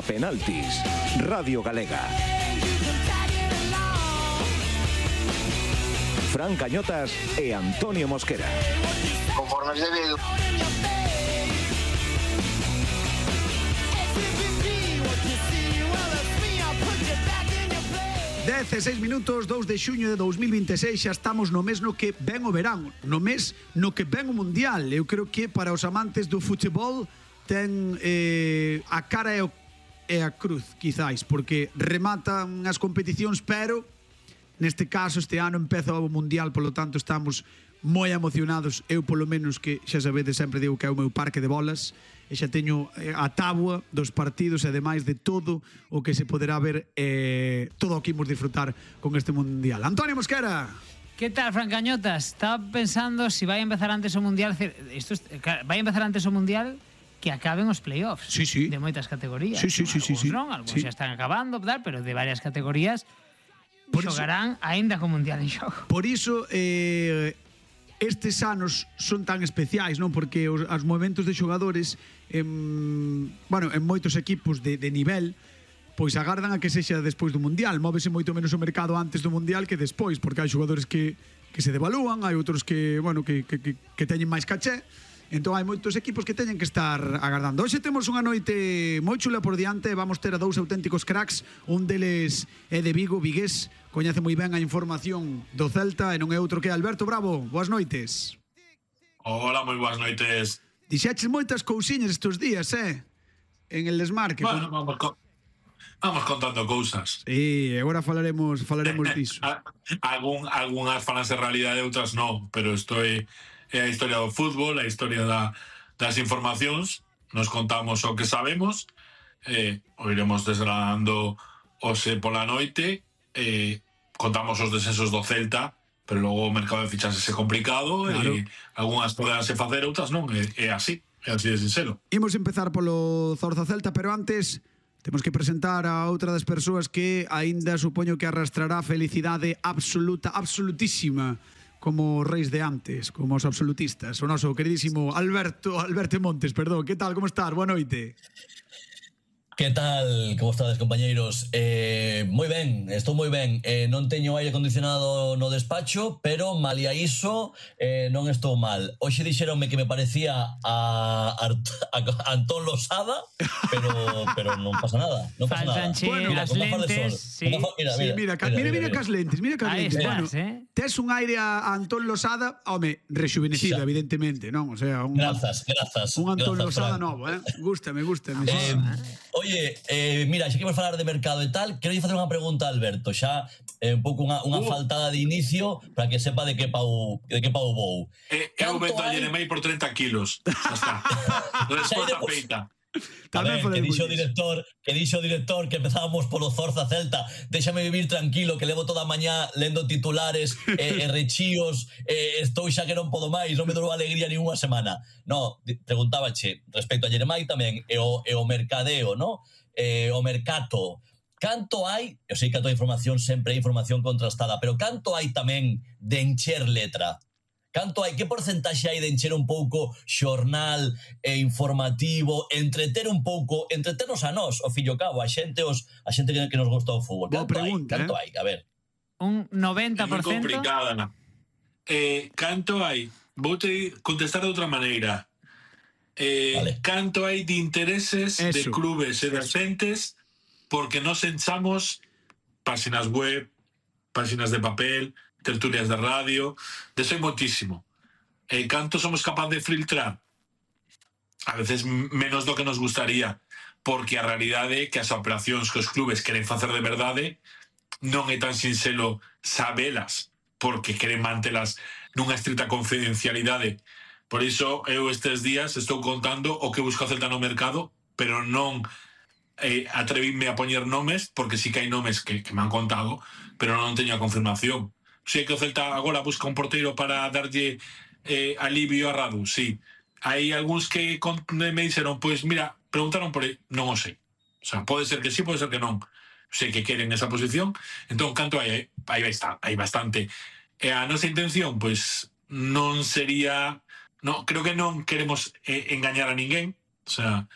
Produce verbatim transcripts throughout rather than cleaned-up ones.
A penaltis, Radio Galega. Fran Cañotas e Antonio Mosquera. Conforme es debido. dezasseis minutos, dous de xuño de dous mil vinte e seis. Xa estamos no mes no que ven o verán, no mes no que ven o mundial. Eu creo que para os amantes do futebol ten eh, a cara e, o, e a cruz, quizáis, porque rematan as competicións, pero neste caso este ano empeza o mundial, polo tanto estamos moi emocionados. Eu polo menos, que xa sabedes, sempre digo que é o meu parque de bolas, e xa teño a tábua dos partidos e ademais de todo o que se poderá ver, eh, todo o que imos disfrutar con este mundial. Antonio Mosquera. ¿Qué tal, Fran Cañotas? Estaba pensando si vai a empezar antes o mundial, isto es, vai a empezar antes o mundial que acaben os playoffs, sí, sí, de moitas categorías. Sí, sí, sí, sí, sí. Non, algúns sí. xa están acabando, tal, pero de varias categorías por xogarán aínda co mundial en xogo. Por iso eh, estes anos son tan especiais, non? Porque os, os movimentos de xogadores en, bueno, en moitos equipos de, de nivel, pois agardan a que sexa despois do mundial. Móvese moito menos o mercado antes do mundial que despois, porque hai xogadores que, que se devalúan, hai outros que, bueno, que, que, que, que teñen máis caché. Entón hai moitos equipos que teñen que estar agardando. Hoxe temos unha noite moi chula por diante. Vamos ter a dous auténticos cracks. Un deles é de Vigo, vigués, coñece moi ben a información do Celta, e non é outro que Alberto Bravo. Boas noites. Hola, moi boas noites. Dixeches moitas cousiñas estes días, eh? En el desmarque. Bueno, vamos, co vamos contando cousas. Sí, agora falaremos falaremos diso. Algún, algunhas falanse realidade, outras non, pero isto é, é a historia do fútbol, a historia da, das informacións. Nos contamos o que sabemos, eh, o iremos desgranando hoxe pola noite, eh, contamos os descensos do Celta, pero logo o mercado de fichaxes é complicado, claro. E algunhas poderánse facer, outras non, é, é así, é así de sincero. Imos empezar polo Zorza Celta, pero antes temos que presentar a outra das persoas que aínda supoño que arrastrará felicidade absoluta, absolutísima, como reis de antes, como os absolutistas. O noso queridísimo Alberto, Alberto Montes, perdón. Que tal, como estás? Boa noite. Que tal, como estades, compañeiros? Eh, moi ben, estou moi ben. Eh, non teño aire acondicionado no despacho, pero malia iso eh, non estou mal. Hoxe dixeronme que me parecía a, a, a Antón Losada, pero pero non pasa nada. Non pasa nada. Bueno, mira, as lentes, sí. Mira, mira, sí, mira, mira, mira, mira, mira cas lentes, mira cas lentes. Estás, bueno, eh? tes un aire a Antón Losada, home, rejuvenecido, xa, evidentemente, non? O sea, un, grazas, grazas. un Antón grazas, Losada Fran. novo, eh? Gústame, gústame. Eh, oye, eh, mira, xa que vamos falar de mercado e tal, quero facer unha pregunta a Alberto, xa eh, un pouco unha, unha uh. faltada de inicio para que sepa de que pau, de que pau vou. Eh, eu vendo a Jeremai por treinta kilos. Xa está. Resposta feita. A ver, que dixo o director, que dixo o director que empezábamos polo Zorza Celta. Déxame vivir tranquilo, que levo toda a mañá lendo titulares e eh, rechíos, eh, estou xa que non podo máis, non me dou alegría nin unha semana. No, preguntábache respecto a Jeremai tamén e o, e o mercadeo, no? Eh, o mercato. Canto hai, eu sei que a toda información sempre é información contrastada, pero canto hai tamén de encher letra? Canto hai, que porcentaxe hai de encher un pouco xornal e informativo, entreter un pouco, entreternos a nós, o fillo cabo, a xente os a xente que, que nos gusta o fútbol. Canto pregunta, hai? Canto eh? hai? A ver. Un noventa por É moi cento. complicada. Eh, canto hai? Vou te contestar de outra maneira. Eh, vale. Canto hai de intereses Eso. de clubes e de xentes porque nos enchamos páxinas web, páxinas de papel, tertulias de radio, deso hai moitísimo. E canto somos capaz de filtrar? A veces menos do que nos gustaría, porque a realidade é que as operacións que os clubes queren facer de verdade non é tan sinxelo sabelas, porque queren mantelas nunha estrita confidencialidade. Por iso eu estes días estou contando o que busca o Celta no mercado, pero non eh, atrevíme a poñer nomes, porque sí que hai nomes que, que me han contado, pero non teño a confirmación. Sei que o Celta agora busca un porteiro para darlle eh, alivio a Radu, sí. Hai algúns que me dixeron, pois mira, preguntaron por ele, non o sei. O sea, pode ser que sí, pode ser que non. Sei que queren esa posición, entón canto hai? Aí está, hai bastante. E a nosa intención, pois, non sería... No, creo que non queremos eh, engañar a ninguén, o sea,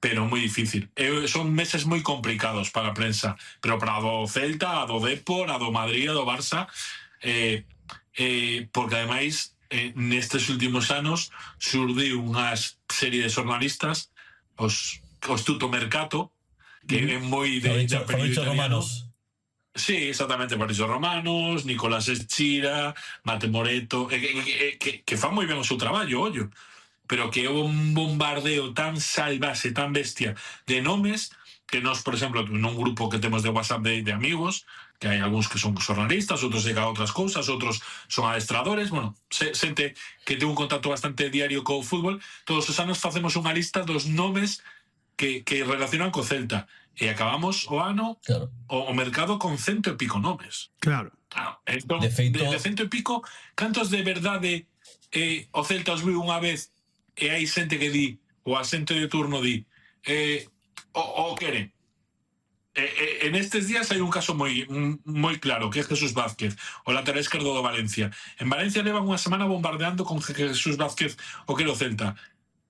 pero moi difícil. E son meses moi complicados para a prensa, pero para a do Celta, a do Depor, a do Madrid, a do Barça, eh, eh, porque ademais eh, nestes últimos anos surdiu unha serie de jornalistas, os, os Tuto Mercato, que é moi de, de apelido italiano. Sí, exactamente, Fabrizio Romanos, Nicolás Eschira, Mate Moreto, eh, eh, que, que fan moi ben o seu traballo, ollo, pero que é un bombardeo tan salvaxe, tan bestia de nomes, que nós, por exemplo, nun grupo que temos de WhatsApp de, de amigos, que hai algúns que son xornalistas, outros dedican a outras cousas, outros son adestradores, bueno, xente que ten un contacto bastante diario co fútbol, todos os anos facemos unha lista dos nomes que, que relacionan co Celta, e acabamos o ano, claro, o, o mercado con cento e pico nomes. Claro. Claro. Entón, de, feito... de, de cento e pico, cantos de verdade eh, o Celta os viu unha vez e hai xente que di, o asente de turno di, eh, o, o queren. Eh, eh, en estes días hai un caso moi moi claro, que é Jesús Vázquez, o lateral esquerdo do Valencia. En Valencia levan unha semana bombardeando con Jesús Vázquez o que era o Celta.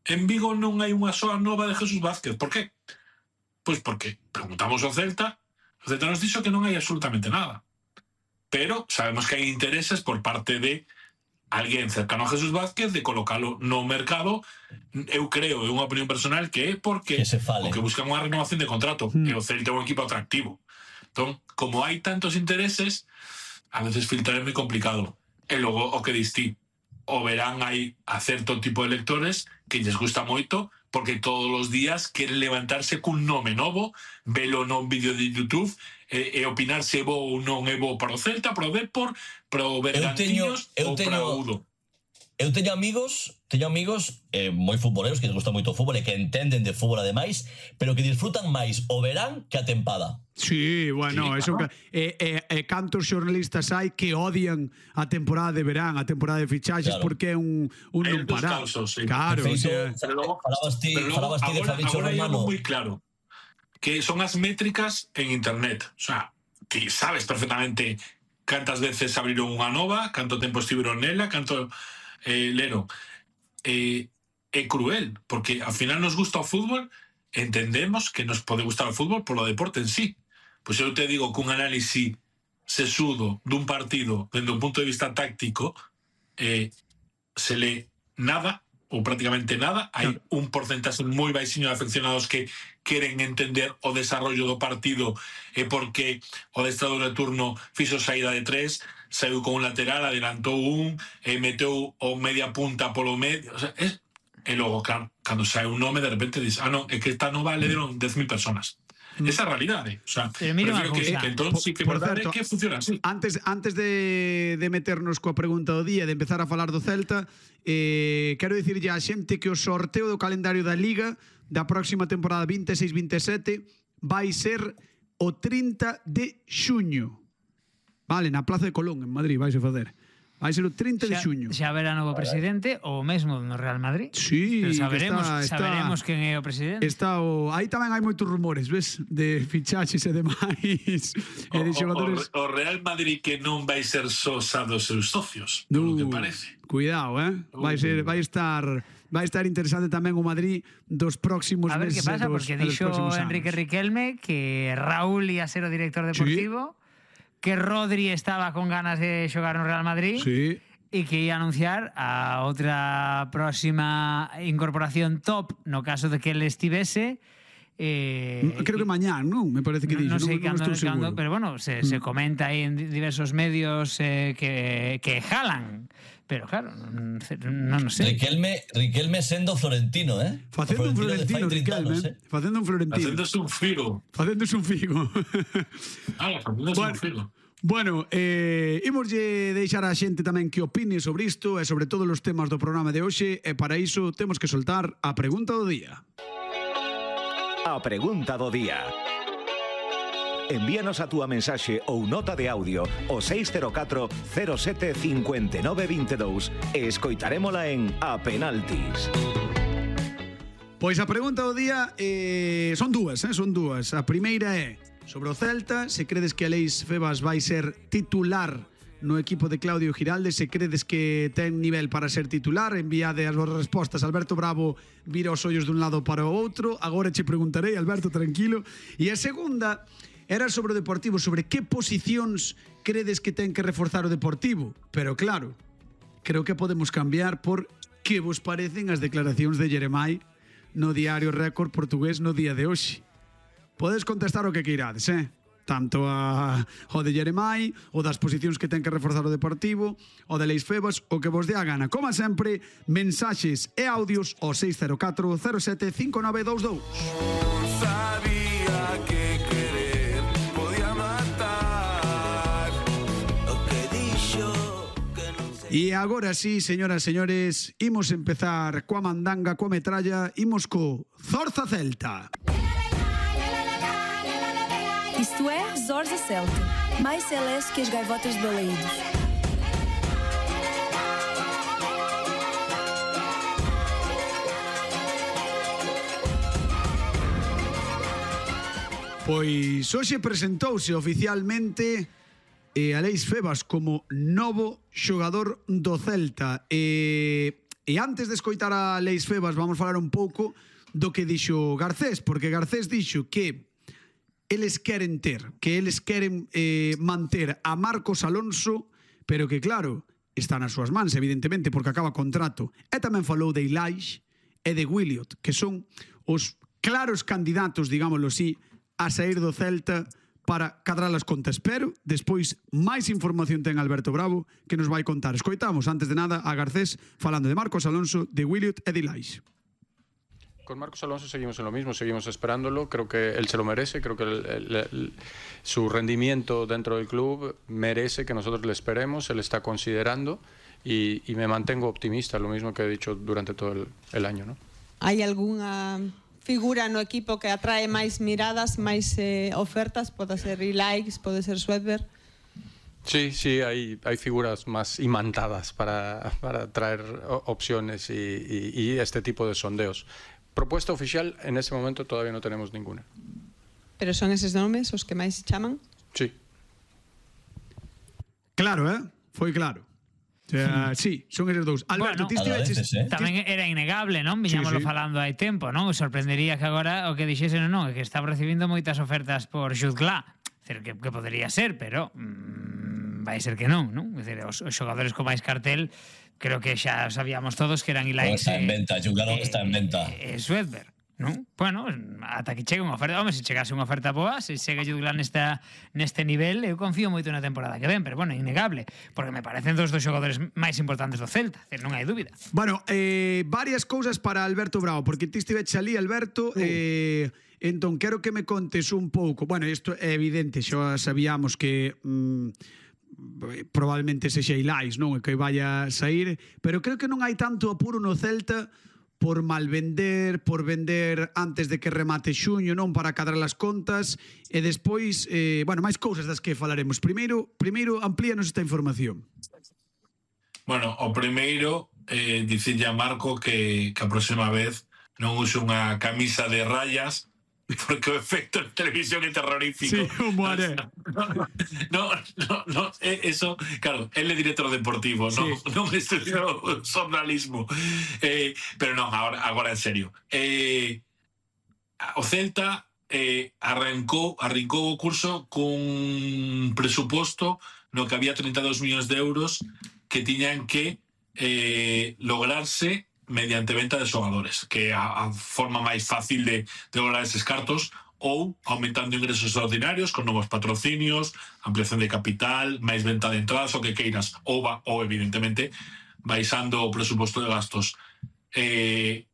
En Vigo non hai unha soa nova de Jesús Vázquez. Por qué? Pois porque preguntamos ao Celta, o Celta nos dixo que non hai absolutamente nada. Pero sabemos que hai intereses por parte de alguén cercano a Jesús Vázquez de colocalo no mercado. Eu creo, é unha opinión personal, que é porque que se fale. O que buscan unha renovación de contrato, mm. e o Celta é un equipo atractivo. Entón, como hai tantos intereses, a veces filtrar é moi complicado. E logo, o que distí, o verán hai a certo tipo de lectores que lles gusta moito, porque todos os días queren levantarse cun nome novo, velo non vídeo de YouTube, e, e opinar se é bo ou non é bo para o Celta, para o Depor, para o Bergantiños ou para o Udo. Eu teño amigos, teño amigos eh, moi futboleros que les gusta moito o fútbol e que entenden de fútbol ademais, pero que disfrutan máis o verán que a tempada. Sí, bueno, sí, eso claro. E eh, eh, eh, cantos xornalistas hai que odian a temporada de verán, a temporada de fichaxes, claro, porque é un, un non parar. Sí. Claro, feito, o sea, pero logo, falabas ti, pero logo, falabas ti de Fabrizio Romano. Agora hai algo moi claro, que son as métricas en internet. O sea, ti sabes perfectamente cantas veces abriron unha nova, canto tempo estiveron nela, canto... Eh, Lero, eh, é cruel, porque ao final nos gusta o fútbol, entendemos que nos pode gustar o fútbol polo deporte en sí. Pois eu te digo que un análisis sesudo dun partido dende un punto de vista táctico eh, se lee nada ou prácticamente nada. Hai un porcentaxe moi baixiño de afeccionados que queren entender o desarrollo do partido e porque o adestrador de turno fixo saída de tres, saiu con un lateral, adelantou un e meteu o media punta polo medio, o sea, es... e logo, claro, cando sae un nome de repente dices, ah, no, é que esta nova le deron dez mil personas. Esa realidade, o sea, pero mira que, que entón sí que por, por verdade certo, que funciona así. Antes, antes de, de meternos coa pregunta do día, de empezar a falar do Celta, eh, quero dicirlle á xente que o sorteo do calendario da Liga da próxima temporada vinte e seis vinte e sete vai ser o trinta de xuño. Vale, na Plaza de Colón, en Madrid, vais a facer. Vai ser o trinta de xuño. Xa verá novo presidente ou mesmo no Real Madrid. Sí, pero saberemos, está, está, saberemos quen é o presidente. Está o, aí tamén hai moitos rumores, ves, de fichaxes e demais. O, e de xogadores. O, o Real Madrid que non vai ser só xa dos seus socios, uh, polo que parece. Cuidado, eh? Vai ser, vai estar vai estar interesante tamén o Madrid dos próximos meses. A ver que pasa, dos, porque dixo Enrique Riquelme que Raúl ia ser o director deportivo. Sí. Que Rodri estaba con ganas de xogar no Real Madrid, sí, e que ia anunciar a outra próxima incorporación top no caso de que ele estivese. Eh, Creo que mañá, non? Me parece que dixo, non sei non, non cando, estou seguro. Pero bueno, se, mm. se comenta aí en diversos medios eh, que, que jalan. Pero claro, non, non sei. Riquelme, Riquelme sendo florentino, eh? Facendo un florentino, Riquelme. Eh? Facendo un florentino. Facéndose un figo. Facéndose un figo. Ah, facéndose bueno, un figo. Bueno, eh, imoslle deixar a xente tamén que opine sobre isto e sobre todos os temas do programa de hoxe, e para iso temos que soltar a pregunta do día. A pregunta do día. Envíanos a túa mensaxe ou nota de audio ao seis cero catro cero sete cinco nove dos dous e escoitarémola en A Penaltis. Pois a pregunta do día eh, son dúas, eh, son dúas. A primeira é sobre o Celta, se credes que Aleix Febas vai ser titular no equipo de Claudio Giralde, se credes que ten nivel para ser titular, enviade as vossas respostas. Alberto Bravo vira os ollos dun lado para o outro. Agora che preguntarei, Alberto, tranquilo. E a segunda era sobre o Deportivo, sobre que posicións credes que ten que reforzar o Deportivo. Pero claro, creo que podemos cambiar por que vos parecen as declaracións de Jeremai no Diario Récord portugués no día de hoxe. Podes contestar o que queirades, eh? Tanto a, o de Jeremai, o das posicións que ten que reforzar o Deportivo, o de Leis Febas, o que vos dé a gana. Como sempre, mensaxes e audios ao seis cero catro cero sete cinco nove dous dous. Sabía que querer podía matar o que dixo que non se... E agora sí, señoras e señores, imos empezar coa mandanga, coa metralla, imos co Zorza Celta. Isto é Zorza Celta, mais celeste que as gaivotas de Balaídos. Pois hoxe presentouse oficialmente eh, Alex Febas como novo xogador do Celta. E, e antes de escoitar a Alex Febas vamos falar un pouco do que dixo Garcés, porque Garcés dixo que eles queren ter, que eles queren eh, manter a Marcos Alonso, pero que claro, está nas súas mans, evidentemente, porque acaba contrato. E tamén falou de Ilaix e de Williot, que son os claros candidatos, digámoslo así, a sair do Celta para cadrar as contas. Pero, despois, máis información ten Alberto Bravo que nos vai contar. Escoitamos, antes de nada, a Garcés falando de Marcos Alonso, de Williot e de Ilaix. Con Marcos Alonso seguimos en lo mismo, seguimos esperándolo, creo que él se lo merece, creo que el, el, el, su rendimiento dentro del club merece que nosotros le esperemos, él está considerando y, y me mantengo optimista, lo mismo que he dicho durante todo el, el año, ¿no? ¿Hay alguna figura no equipo que atrae máis miradas, máis eh, ofertas? Pode ser Ilaix, pode ser Swedberg. Sí, sí, hay, hay figuras más imantadas para, para traer opciones y, y, y este tipo de sondeos. Propuesta oficial, en este momento todavía no tenemos ninguna. Pero son esos nombres os que máis chaman? Sí. Claro, eh? Foi claro. O sea, sí, son esos dous. Alberto, bueno, ti estiveches... eh? Tamén era innegable, non? Viñámoslo sí, sí. falando hai tempo, non? Os sorprendería que agora o que dixesen non, que estaba recibindo moitas ofertas por Jude Gla. Decir, que, que podería ser, pero mmm, vai ser que non, non? Decir, os, os xogadores con máis cartel creo que xa sabíamos todos que eran Ilaix. Está en venta, Jude Gla está en venta. E Swedberg, non? Bueno, ata que chegue unha oferta, home, se chegase unha oferta boa, se segue Jude Gla nesta, neste nivel, eu confío moito na temporada que ven, pero bueno, innegable, porque me parecen dos dos xogadores máis importantes do Celta, non hai dúbida. Bueno, eh, varias cousas para Alberto Bravo, porque ti estiveche ali, Alberto, uh. eh, entón quero que me contes un pouco, bueno, isto é evidente, xa sabíamos que... Mm, probablemente sexa Ilaix, non? Que vaya a sair, pero creo que non hai tanto apuro no Celta por malvender, por vender antes de que remate xuño, non? Para cadrar as contas e despois, eh, bueno, máis cousas das que falaremos. Primeiro, primeiro amplíanos esta información. Bueno, o primeiro, eh, dicirlle a Marco que, que a próxima vez non use unha camisa de rayas, porque o efecto en televisión é terrorífico. Sí, como haré. No, no, no, no, eso, claro, él é director deportivo, sí. non, non estudiou xornalismo. Eh, pero non, agora, agora en serio. Eh, o Celta eh, arrancou, arrancou o curso cun presuposto no que había treinta e dous millóns de euros que tiñan que eh, lograrse mediante venta de xogadores, que é a, a forma máis fácil de, de lograr eses cartos, ou aumentando ingresos extraordinarios con novos patrocinios, ampliación de capital, máis venta de entradas, o que queiras, ou, va, ou evidentemente baixando o presuposto de gastos. Eh,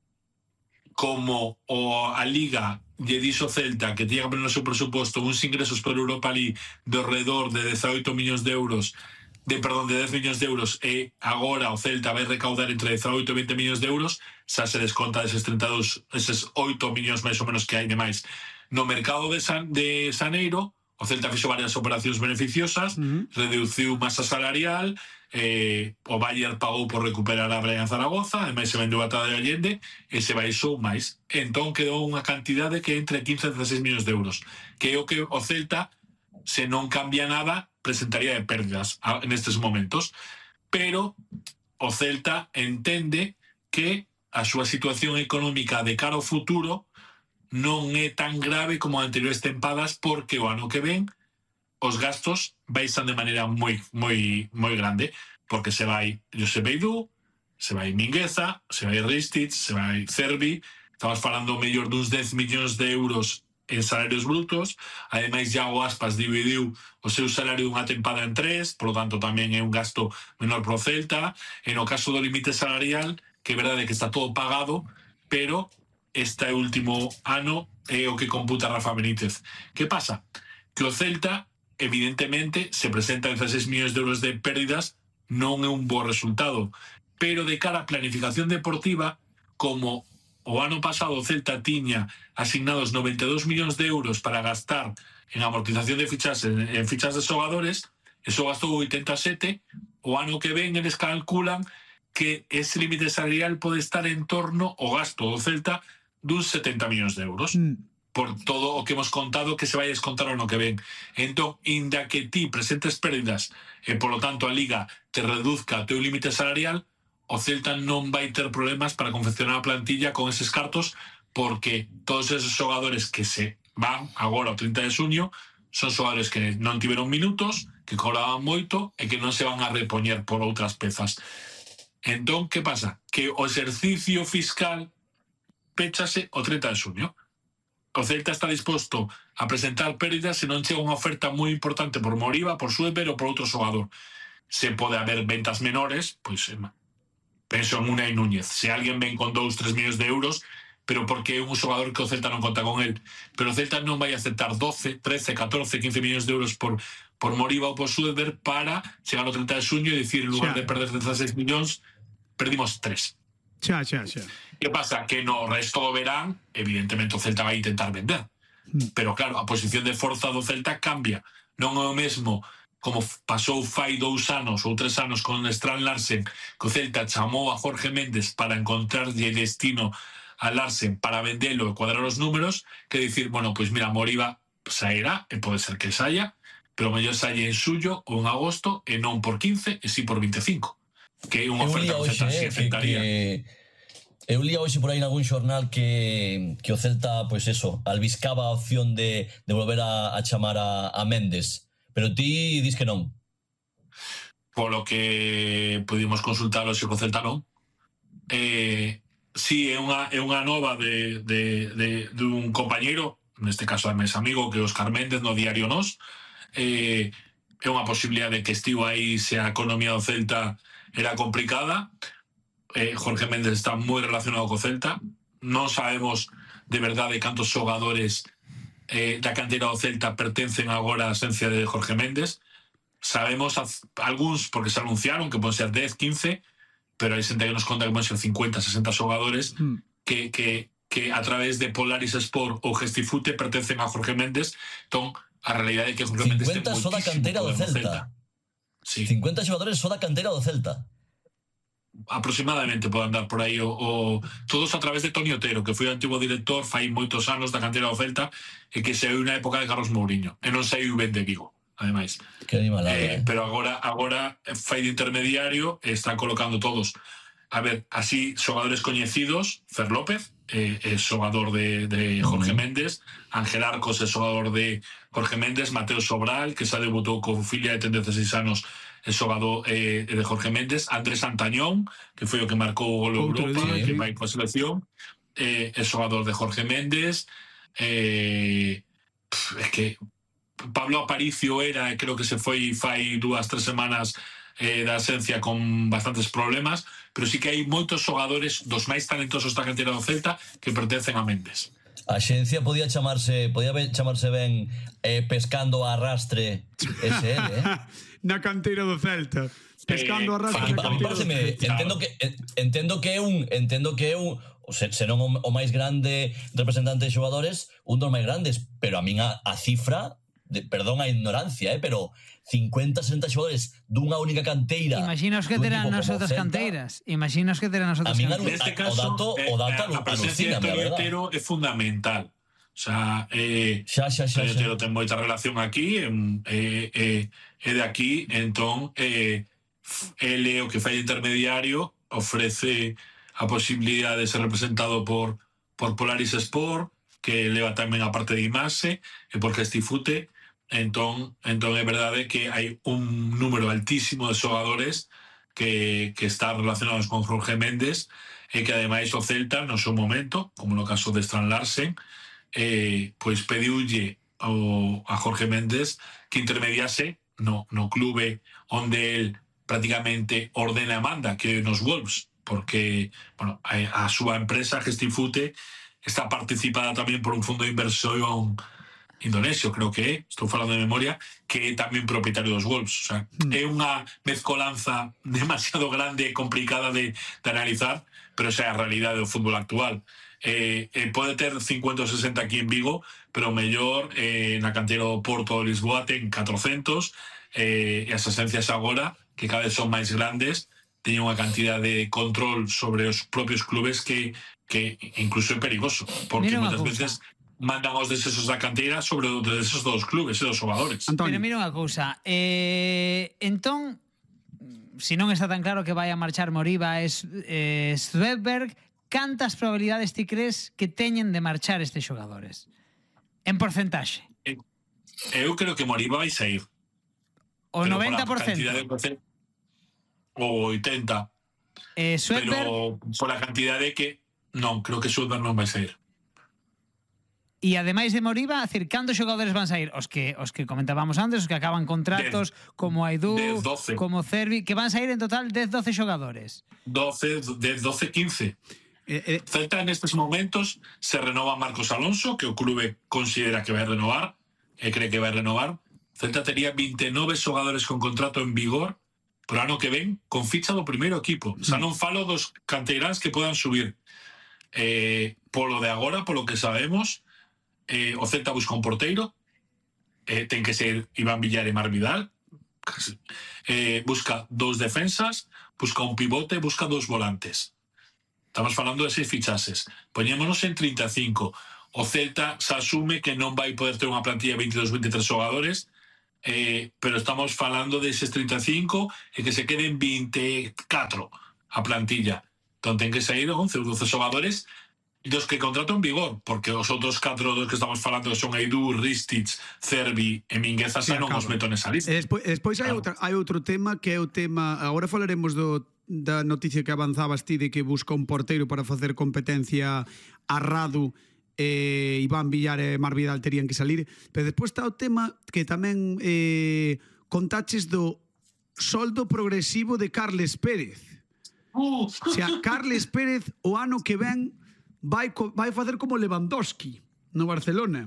como o, a Liga lle dixo Celta que tiña que poner no seu presuposto uns ingresos por Europa League de alrededor de dezaoito millóns de euros, de perdón, de dez millóns de euros, e agora o Celta vai recaudar entre dezaoito e vinte millóns de euros, xa se desconta deses treinta e dous, eses oito millóns máis ou menos que hai de máis. No mercado de, San, de Xaneiro, o Celta fixo varias operacións beneficiosas, uh-huh. reduciu masa salarial, eh, o Bayern pagou por recuperar a Brian Zaragoza, ademais se vendeu a Tada de Allende, e se baixou máis. Entón quedou unha cantidade que entre quince e dezasseis millóns de euros, que é o que o Celta, se non cambia nada, presentaría de pérdidas en estes momentos, pero o Celta entende que a súa situación económica de cara ao futuro non é tan grave como anteriores tempadas, porque o ano que ven os gastos baixan de maneira moi moi moi grande, porque se vai Josep Beidú, se vai Mingueza, se vai Ristich, se vai Cervi, estamos falando mellor duns dez millóns de euros en salarios brutos. Ademais, Iago Aspas dividiu o seu salario dunha tempada en tres, por lo tanto tamén é un gasto menor pro Celta. En o caso do límite salarial, que é verdade que está todo pagado, pero este último ano é o que computa Rafa Benítez. Que pasa? Que o Celta, evidentemente, se presenta dieciséis millóns de euros de pérdidas, non é un bo resultado, pero de cara a planificación deportiva, como o ano pasado o Celta tiña asignados noventa e dous millóns de euros para gastar en amortización de fichas en, en fichas de xogadores, eso gastou oitenta e sete, o ano que ven eles calculan que ese límite salarial pode estar en torno ao gasto do Celta duns setenta millóns de euros, mm. por todo o que hemos contado que se vai descontar o ano que ven. Entón, inda que ti presentes pérdidas e, polo tanto, a Liga te reduzca o teu límite salarial, o Celta non vai ter problemas para confeccionar a plantilla con eses cartos, porque todos esos xogadores que se van agora ao trinta de xuño son xogadores que non tiveron minutos, que cobraban moito e que non se van a repoñer por outras pezas. Entón, que pasa? Que o exercicio fiscal péchase o trinta de xuño. O Celta está disposto a presentar pérdidas se non chega unha oferta moi importante por Moriba, por Sueber ou por outro xogador. Se pode haber ventas menores, pois penso en Unai Núñez. Se alguén ven con dous, tres millóns de euros, pero porque é un xogador que o Celta non conta con el. Pero o Celta non vai aceptar doce, trece, catorce, quince millóns de euros por, por Moriba ou por Sueber para chegar ao trinta de xuño e dicir, en lugar de perder dezasseis millóns, perdimos tres. Xa, xa, xa. Que pasa? Que no resto do verán, evidentemente o Celta vai intentar vender. Mm. Pero claro, a posición de forza do Celta cambia. Non é o mesmo como pasou fai dous anos ou tres anos con Strand Larsen, que o Celta chamou a Jorge Méndez para encontrarlle destino a Larsen para vendelo e cuadrar os números, que dicir, bueno, pois mira, Moriba sairá, e pode ser que saia, pero mellor saia en suyo ou en agosto, e non por quince, e si por vinte e cinco. Que é unha oferta que o Celta si aceptaría. Eu lía hoxe por aí en algún xornal que, que o Celta, pois eso, albiscaba a opción de, de volver a, a chamar a, a Méndez. Pero ti dis que non. Polo que pudimos consultar o o Celta non. Eh, si é unha, é unha nova de, de, de, de un compañeiro, neste caso é mes amigo, que Óscar Méndez no diario Nos, eh, é unha posibilidade que estivo aí se a economía do Celta era complicada. eh, Jorge Méndez está moi relacionado co Celta. Non sabemos de verdade cantos xogadores eh, da cantera do Celta pertencen agora á esencia de Jorge Méndez. Sabemos a, algúns porque se anunciaron que poden ser dez, quince, pero hai xente que nos conta que poden ser cincuenta, sesenta xogadores mm. que, que, que a través de Polaris Sport ou Gestifute pertencen a Jorge Méndez. Entón, a realidade é que Jorge Méndez ten moitísimo só da cantera do Celta. Celta. Sí. cincuenta xogadores só da cantera do Celta. Aproximadamente pode andar por aí o, o, todos a través de Toni Otero, que foi o antigo director fai moitos anos da cantera do Celta e que saiu na época de Carlos Mourinho e non saiu ben de Vigo, ademais. Que animalada, eh, eh. Pero agora agora fai de intermediario e están colocando todos. A ver, así, xogadores coñecidos, Fer López, eh, é xogador de, de Jorge uh -huh. Méndez, Ángel Arcos é xogador de Jorge Méndez, Mateo Sobral, que xa debutou con filla e ten dezasseis anos, é xogador eh, de Jorge Méndez, Andrés Antañón, que foi o que marcou o gol Europa, día, que vai coa selección, eh, é xogador de Jorge Méndez, eh, pff, é que Pablo Aparicio era, creo que se foi fai dúas, tres semanas eh, da esencia con bastantes problemas, pero sí que hai moitos xogadores dos máis talentosos da cantera do Celta que pertencen a Méndez. A xencia podía chamarse podía chamarse ben eh, pescando a arrastre S L, eh? Na cantera do Celta. Pescando a arrastre eh, na cantera do Celta. Entendo que entendo que é un entendo que é un senón o máis grande representante de xogadores, un dos máis grandes, pero a min a, a cifra de, perdón a ignorancia, eh, pero cincuenta, sesenta xogadores dunha única canteira. Imaginos que terán nas outras canteiras. Imaginos que terán nas outras canteiras. Neste caso, o dato, o dato a, a presencia de Toni Otero é fundamental. O sea, eh, xa, xa, xa, xa. Pelotero ten moita relación aquí, e eh, eh, eh, de aquí, entón, eh, ele o que fai intermediario ofrece a posibilidade de ser representado por, por Polaris Sport, que leva tamén a parte de Imase, e por Gestifute. Entón, entón é verdade que hai un número altísimo de xogadores que, que están relacionados con Jorge Méndez, e que ademais o Celta, no seu momento, como no caso de Strand Larsen, eh, pois pediulle ao, a Jorge Méndez que intermediase no, no clube onde el prácticamente ordena e manda, que nos Wolves, porque bueno, a, a súa empresa Gestifute está participada tamén por un fondo de inversión indonesio, creo que é, estou falando de memoria, que é tamén propietario dos Wolves. O sea, mm. é unha mezcolanza demasiado grande e complicada de, de analizar, pero esa é a realidade do fútbol actual. Eh, eh, pode ter cincuenta ou sesenta aquí en Vigo, pero o mellor eh, na canteira do Porto de Lisboa ten catrocentos, eh, e as esencias agora, que cada vez son máis grandes, teñen unha cantidad de control sobre os propios clubes que, que incluso é perigoso, porque moitas veces mandan os desesos da canteira sobre os desesos dos clubes e dos xogadores. Pero mira unha cousa, eh, entón, se non está tan claro que vai a marchar Moriba e eh, Svedberg, cantas probabilidades ti crees que teñen de marchar estes xogadores? En porcentaxe? Eu creo que Moriba vai sair. O noventa por cento? O oitenta por cento. Eh, Svedberg... Pero por a cantidade que... Non, creo que Svedberg non vai sair. E ademais de Moriba, a decir, cantos xogadores van sair? Os que os que comentábamos antes, os que acaban contratos, dez, como Aidú, como Cervi, que van sair en total dez, doce xogadores. doce, dez, doce, quince. Eh, eh. Celta nestes momentos se renova Marcos Alonso, que o clube considera que vai renovar, e cree que vai renovar. Celta tería vinte e nove xogadores con contrato en vigor pro ano que ven, con ficha do primeiro equipo. O sea, non falo dos canteiráns que podan subir. Eh, polo de agora, polo que sabemos, Eh, o Celta busca un porteiro, eh, ten que ser Iván Villar e Mar Vidal, eh, busca dos defensas, busca un pivote, busca dos volantes. Estamos falando de seis fichases. Poñémonos en treinta e cinco. O Celta se asume que non vai poder ter unha plantilla de veintidós, veintitrés xogadores, eh, pero estamos falando de eses treinta e cinco e que se queden veinticuatro a plantilla. Entón ten que sair once ou doce xogadores dos que contrato en vigor, porque os outros catro dos que estamos falando son Aidú, Ristich, Cervi e Mingueza, sí, xa non os meto nesa lista. E despois, despois claro. hai, outra, hai outro tema que é o tema, agora falaremos do, da noticia que avanzabas ti de que busca un porteiro para facer competencia a Radu, eh, Iván Villar e Mar Vidal terían que salir, pero despois está o tema que tamén eh, contaches do soldo progresivo de Carles Pérez. Uh. O sea, Carles Pérez o ano que ven vai, vai facer como Lewandowski no Barcelona,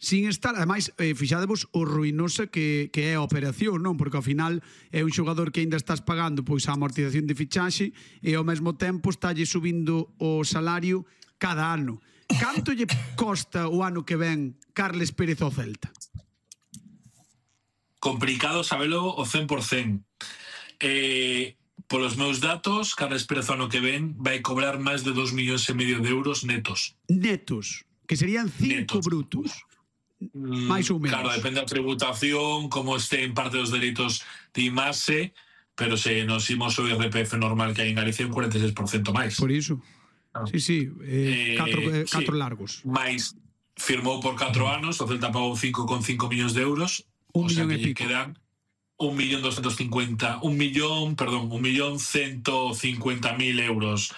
sin estar, ademais, eh, fixadevos o ruinosa que, que é a operación, non? Porque ao final é un xogador que aínda estás pagando pois a amortización de fichaxe e ao mesmo tempo estálle subindo o salario cada ano. Canto lle costa o ano que ven Carles Pérez ao Celta? Complicado sabelo o cen por cento. Eh... Polos meus datos, Carles Pérez ano que ven vai cobrar máis de dos millóns e medio de euros netos. Netos, que serían cinco netos. Brutos. Mm, máis ou menos. Claro, depende da tributación, como este en parte dos dereitos de Imase, pero se nos imos o I R P F normal que hai en Galicia un cuarenta e seis por cento máis. Por iso. Claro. Sí, sí, eh, eh, catro, eh, catro sí. largos. Mais firmou por catro anos, o Celta pagou cinco coma cinco millóns de euros, un o sea millón que e pico. Quedan un millón doscientos cincuenta, un millón, perdón, un millón ciento cincuenta mil euros,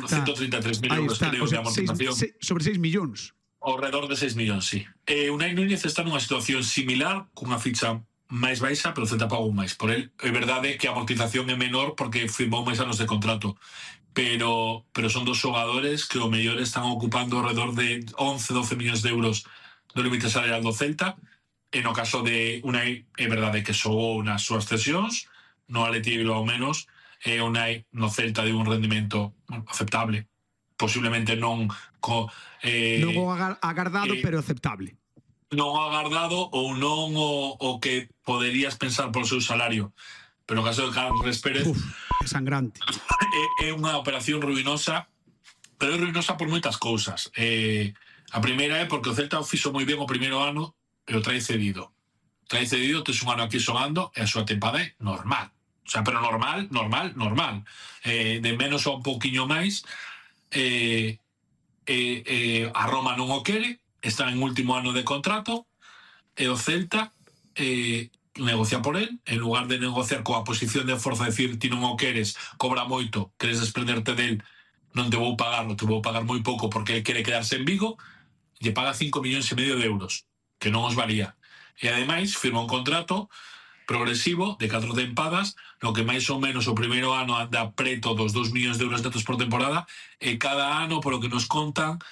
ciento treinta e tres mil euros creo, o sea, de amortización. Seis, seis, sobre seis millóns. Alrededor de seis millóns, sí. Eh, Unai Núñez está nunha situación similar, cunha ficha máis baixa, pero o Celta pagou máis. Por el, é verdade que a amortización é menor porque firmou máis anos de contrato. Pero, pero son dos xogadores que o mellor están ocupando alrededor de once, doce millóns de euros do límite salarial do Celta. E no caso de Unai, é verdade que xogou nas súas cesións, no Atleti ao menos, e Unai no Celta de un rendimento aceptable. Posiblemente non co, eh, non o agardado, eh, pero aceptable. Non agardado ou non o, o que poderías pensar por seu salario. Pero no caso de Carles Pérez, uf, é sangrante. É, é unha operación ruinosa, pero é ruinosa por moitas cousas. Eh, A primeira é porque o Celta o fixo moi ben o primeiro ano e o trae cedido. Trae cedido, tes un ano aquí xogando e a súa tempada é normal. O sea, pero normal, normal, normal. Eh, de menos a un pouquiño máis. Eh, eh, eh, a Roma non o quere, está en último ano de contrato e o Celta eh, negocia por él, en lugar de negociar coa posición de forza, decir, ti non o queres, cobra moito, queres desprenderte del, non te vou pagar, non te vou pagar moi pouco porque ele quere quedarse en Vigo, lle paga cinco millóns e medio de euros, que non os valía. E ademais firma un contrato progresivo de catro tempadas, no que máis ou menos o primeiro ano anda preto dos dos millóns de euros netos por temporada, e cada ano, polo que nos contan,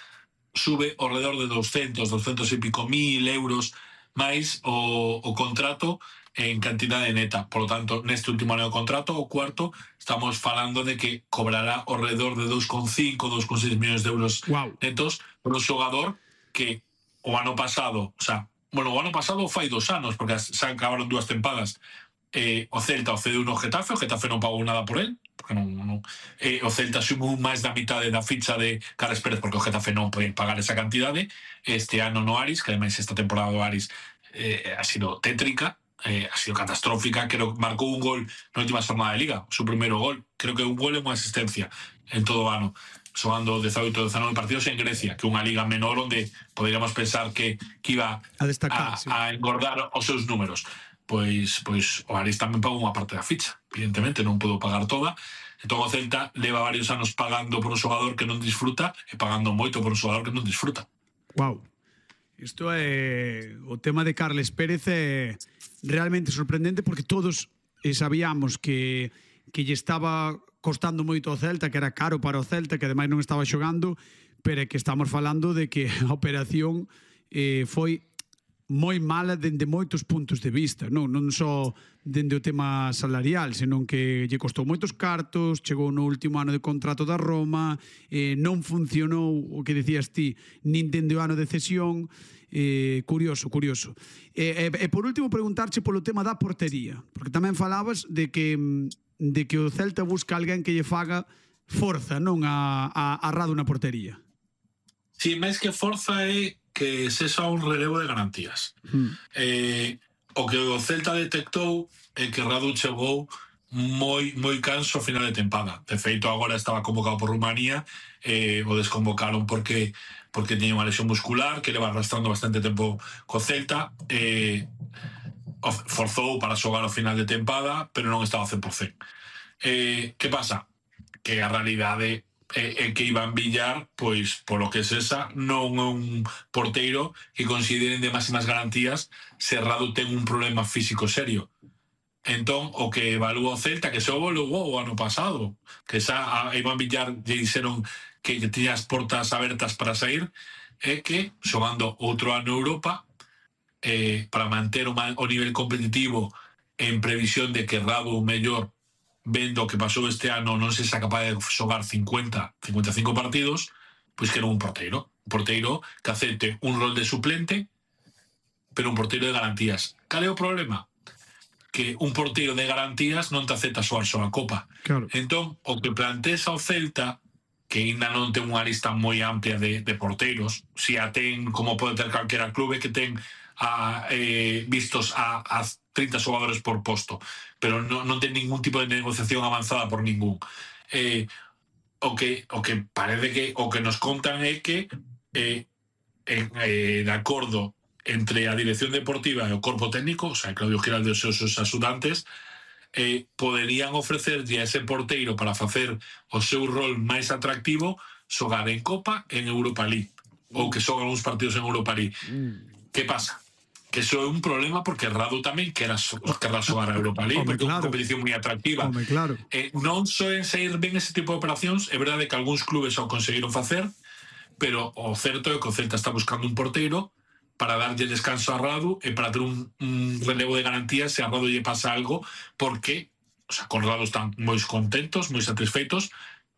sube ao redor de doscientos, doscientos e pico mil euros máis o, o contrato en cantidade neta. Por lo tanto, neste último ano de contrato, o cuarto, estamos falando de que cobrará ao redor de dos coma cinco, dos coma seis millóns de euros wow. netos por un xogador que o ano pasado, o sea, bueno, o ano pasado fai dos anos, porque se acabaron dúas tempadas, eh, o Celta o cedeu no Getafe, o Getafe non pagou nada por él, porque non, non, eh, o Celta sumou máis da mitade da ficha de Carles Pérez, porque o Getafe non pode pagar esa cantidade. Este ano no Aris, que ademais esta temporada do Aris eh, ha sido tétrica, eh, ha sido catastrófica, creo que marcou un gol na última jornada de Liga, o seu primeiro gol, creo que un gol e unha asistencia en todo o ano, xogando dezaoito, dezanove partidos en Grecia, que é unha liga menor onde poderíamos pensar que, que iba a, destacar, a, sí. a engordar os seus números. Pois, pois o Aris tamén pagou unha parte da ficha, evidentemente non pudo pagar toda. Entón o Celta leva varios anos pagando por un xogador que non disfruta e pagando moito por un xogador que non disfruta. Wow. Isto é o tema de Carles Pérez é realmente sorprendente, porque todos sabíamos que que lle estaba costando moito ao Celta, que era caro para o Celta, que ademais non estaba xogando, pero é que estamos falando de que a operación eh, foi moi mala dende moitos puntos de vista, non, non só dende o tema salarial, senón que lle costou moitos cartos, chegou no último ano de contrato da Roma, eh, non funcionou o que decías ti, nin dende o ano de cesión. Eh, curioso, curioso. E, e, e por último preguntarche polo tema da portería, porque tamén falabas de que de que o Celta busca alguén que lle faga forza, non a, a, a Radu na portería. Si, máis que forza é que sexa un relevo de garantías. Hmm. Eh, o que o Celta detectou é que Radu chegou moi moi canso a final de tempada. De feito, agora estaba convocado por Rumanía, eh, o desconvocaron porque porque tiña unha lesión muscular que leva arrastrando bastante tempo co Celta, eh, forzou para xogar ao final de tempada, pero non estaba cen por cento. Eh, que pasa? Que a realidade é, é que Iván Villar, pois, polo que es esa, non é un porteiro que consideren de máximas garantías se Radu ten un problema físico serio. Entón, o que evalúa o Celta, que se evaluou o ano pasado, que xa a Iván Villar lle dixeron que, que tiña as portas abertas para sair, é que, xogando outro ano Europa, eh, para manter o, o nivel competitivo en previsión de que Radu mellor, vendo que pasou este ano, non se xa capaz de xogar cincuenta, cincuenta e cinco partidos, pois que era un porteiro. Un porteiro que acepte un rol de suplente, pero un porteiro de garantías. Cal é o problema? Que un porteiro de garantías non te acepta xogar só a Copa. Claro. Entón, o que planteas ao Celta, que ainda non ten unha lista moi amplia de, de porteiros, si a ten, como pode ter calquera clube, que ten a, eh, vistos a, a trinta xogadores por posto, pero non, non ten ningún tipo de negociación avanzada por ningún. Eh, o, que, o que parece que o que nos contan é que eh, en, eh, de acordo entre a dirección deportiva e o corpo técnico, o sea, Claudio Giraldo e os seus axudantes, eh, poderían ofrecerlle a ese porteiro para facer o seu rol máis atractivo xogar en Copa en Europa League, ou que xogan uns partidos en Europa League. Mm. Que pasa? Que iso é un problema porque Radu tamén querrá xogar a Europa League, porque é unha competición moi atractiva. Home, claro. Eh, non soen sair ben ese tipo de operacións, é verdade que algúns clubes o conseguiron facer, pero o certo é que o Celta está buscando un porteiro para darlle descanso a Radu e para ter un, un relevo de garantías se a Radu lle pasa algo, porque, o sea, con Radu están moi contentos, moi satisfeitos,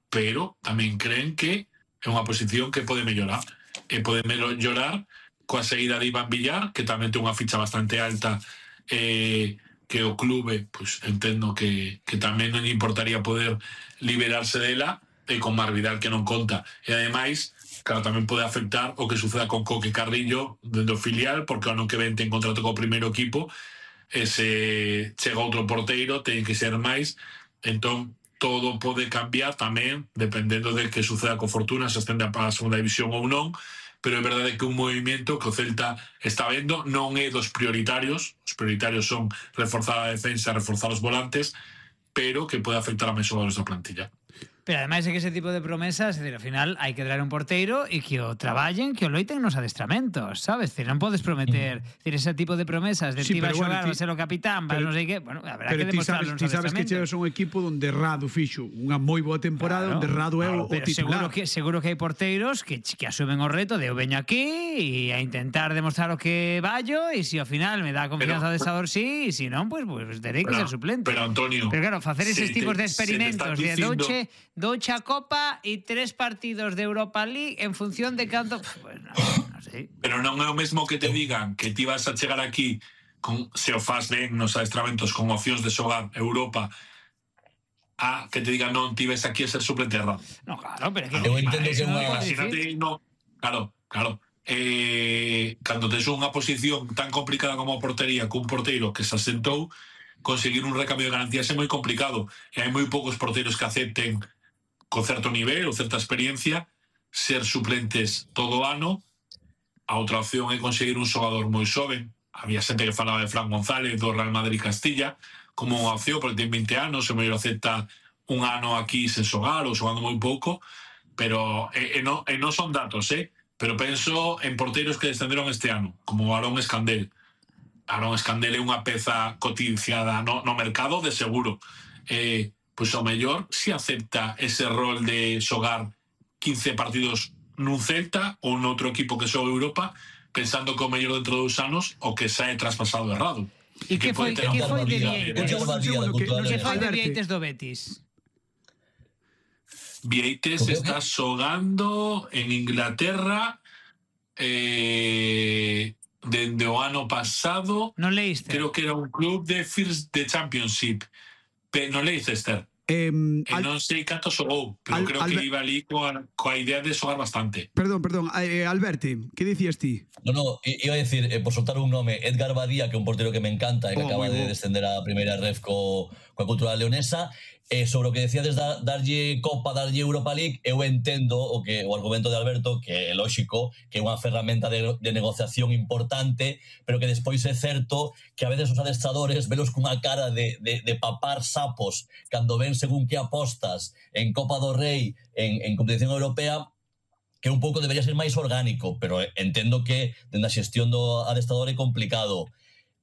pero tamén creen que é unha posición que pode mellorar. E pode mellorar coa saída de Iván Villar, que tamén ten unha ficha bastante alta, eh, que o clube, pues, entendo que, que tamén non importaría poder liberarse dela, e con Mar Vidal que non conta. E ademais, claro, tamén pode afectar o que suceda con Coque Carrillo dentro do filial, porque o ano que ven ten contrato co primeiro equipo, e se chega outro porteiro ten que ser máis, entón todo pode cambiar tamén dependendo de que suceda co Fortuna, se ascende a segunda división ou non, pero é verdade que un movimento que o Celta está vendo non é dos prioritarios, os prioritarios son reforzar a defensa, reforzar os volantes, pero que pode afectar a máis xogadores da plantilla. Pero ademais é que ese tipo de promesas, é dicir, ao final hai que traer un porteiro e que o traballen, que o loiten nos adestramentos, sabes? Dicir, non podes prometer, mm. dicir, ese tipo de promesas de sí, ti va a xogar, bueno, va a ser o capitán, va a non sei que, bueno, habrá que demostrarlo nos adestramentos. Pero ti sabes que chegas a un equipo onde Radu fixo unha moi boa temporada, claro, onde Radu é claro, o, o titular. Seguro que, seguro que hai porteiros que, que asumen o reto de eu veño aquí e a intentar demostrar o que vallo, e se ao final me dá confianza de adestrador sí, e se non, pues, pues terei que ser suplente. Pero Antonio, pero claro, facer eses se tipos te, de experimentos de diciendo... doche, doche a Copa e tres partidos de Europa League en función de canto, pues no, no sei. Pero non é o mesmo que te digan que ti vas a chegar aquí con, se o faz ben nos adestramentos con opcións de xogar Europa, a que te digan non, ti ves aquí a ser suplente errado. No, claro, pero que eu entendo que unha... Imagínate, no, claro, claro. Eh, cando tes unha posición tan complicada como a portería, cun porteiro que se asentou, conseguir un recambio de garantías é moi complicado, e hai moi poucos porteiros que acepten con certo nivel ou certa experiencia ser suplentes todo o ano. A outra opción é conseguir un xogador moi xoven. Había xente que falaba de Fran González do Real Madrid Castilla como unha opción, porque ten vinte anos, e mellor acepta un ano aquí sen xogar ou xogando moi pouco, pero e, e, no, e non son datos, eh? Pero penso en porteiros que descenderon este ano, como Aarón Escandel. Aarón Escandel é unha peza cotizada no, no mercado de seguro. Eh, pois ao mellor si acepta ese rol de xogar quince partidos nun Celta ou noutro equipo que xoga Europa, pensando que o mellor dentro de dous anos o que sae traspasado errado. E que foi, que foi de Vieites? Que foi de Vieites do Betis? Vieites está xogando en Inglaterra eh, dende o ano pasado. Non leíste? Creo que era un club de First de Championship. Non Leicester. Eh, e non sei canto xogou, pero al, creo que iba ali coa, coa idea de xogar bastante. Perdón, perdón, eh, Alberto, que dicías ti? No, no, iba a decir, eh, por soltar un nome, Edgar Badía, que é un portero que me encanta e que oh, acaba de descender a primeira ref co, coa Cultural Leonesa. Eh, sobre o que decíades da, darlle Copa, darlle Europa League, eu entendo o que o argumento de Alberto, que é lógico, que é unha ferramenta de, de negociación importante, pero que despois é certo que a veces os adestradores velos cunha cara de, de, de papar sapos cando ven según que apostas en Copa do Rei, en, en competición europea, que un pouco debería ser máis orgánico, pero entendo que dende a xestión do adestrador é complicado.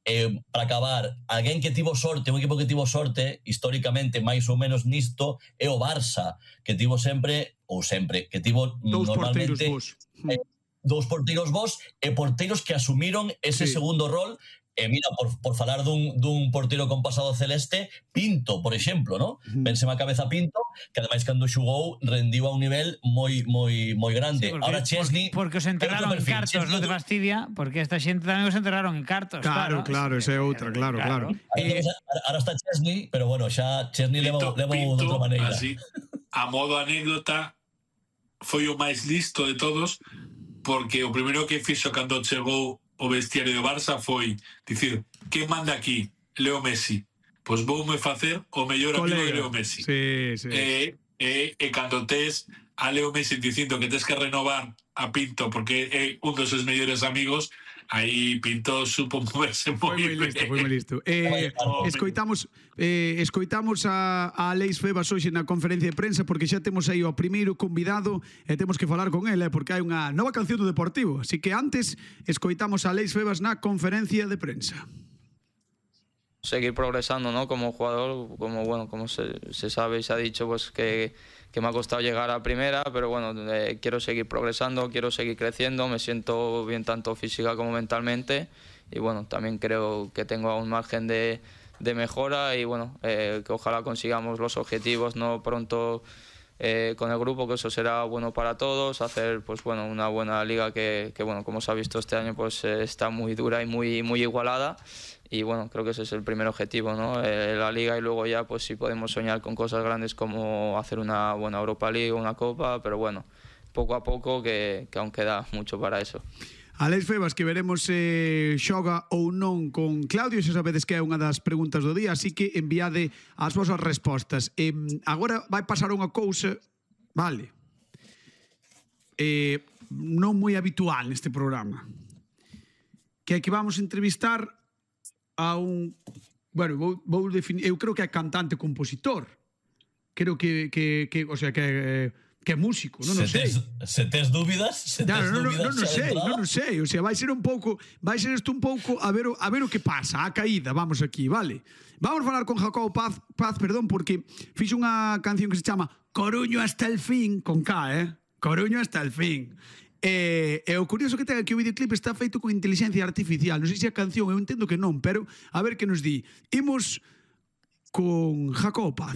Eh, para acabar, alguén que tivo sorte, un equipo que tivo sorte históricamente máis ou menos nisto é o Barça, que tivo sempre, ou sempre, que tivo dous normalmente porteiros vos. Eh, dous porteiros vos e porteiros que asumiron ese sí. segundo rol. E mira, por, por falar dun, dun porteiro con pasado celeste, Pinto, por exemplo, ¿no? Mm. Vénseme a cabeza Pinto, que ademais cando xugou rendiu a un nivel moi moi moi grande. Sí, porque, ahora Chesney, porque, porque os enterraron en cartos, non te fastidia, porque esta xente tamén os enterraron en cartos. Claro, claro, esa é outra, claro, claro. claro. Eh, ahora está Chesney, pero bueno, xa Chesney leva de outra maneira. Así, a modo anécdota, foi o máis listo de todos, porque o primeiro que fixo cando chegou o vestiario do Barça foi dicir, que manda aquí? Leo Messi. Pois voume facer o mellor amigo de Leo Messi. Sí, sí. E, e, e cando tes a Leo Messi dicindo que tes que renovar a Pinto porque é un dos seus mellores amigos, aí Pinto supo moverse moi moi listo, foi moi listo. Eh, escoitamos eh, escoitamos a, a Aleix Febas hoxe na conferencia de prensa, porque xa temos aí o primeiro convidado e temos que falar con ele, porque hai unha nova canción do Deportivo. Así que antes escoitamos a Aleix Febas na conferencia de prensa. Seguir progresando, ¿no? Como jugador, como bueno, como se, se sabe y se ha dicho, pues que, que me ha costado llegar a primera, pero bueno, eh, quiero seguir progresando, quiero seguir creciendo, me siento bien tanto física como mentalmente y bueno, también creo que tengo aún margen de, de mejora y bueno, eh, que ojalá consigamos los objetivos, ¿no? Pronto eh, con el grupo, que eso será bueno para todos, hacer pues bueno, una buena liga que, que bueno, como se ha visto este año, pues eh, está muy dura y muy, muy igualada. Y bueno, creo que ese es el primer objetivo, ¿no? Eh, la liga, y luego ya pues si podemos soñar con cosas grandes como hacer una buena Europa League, una Copa, pero bueno, poco a poco, que, que aún queda mucho para eso. Alex Febas, que veremos se eh, xoga ou non con Claudio, xa sabedes que é unha das preguntas do día, así que enviade as vosas respostas. Eh, agora vai pasar unha cousa, vale, eh, non moi habitual neste programa, que é que vamos entrevistar a un, bueno, vou, vou definir, eu creo que é cantante compositor, creo que, que, que o sea, que eh, que é músico, non o sei. Tes, se tes dúbidas, se tes claro, dúbidas, non, non, non sei, non o sei, o sea, vai ser un pouco, vai ser isto un pouco a ver o, a ver o que pasa, a caída, vamos aquí, vale? Vamos falar con Jacobo Paz, Paz, perdón, porque fixo unha canción que se chama Coruño hasta el fin, con K, eh? Coruño hasta el fin. E, e o curioso que ten é que o videoclip está feito con inteligencia artificial, non sei se a canción, eu entendo que non, pero a ver que nos di. Imos con Jacobo Paz.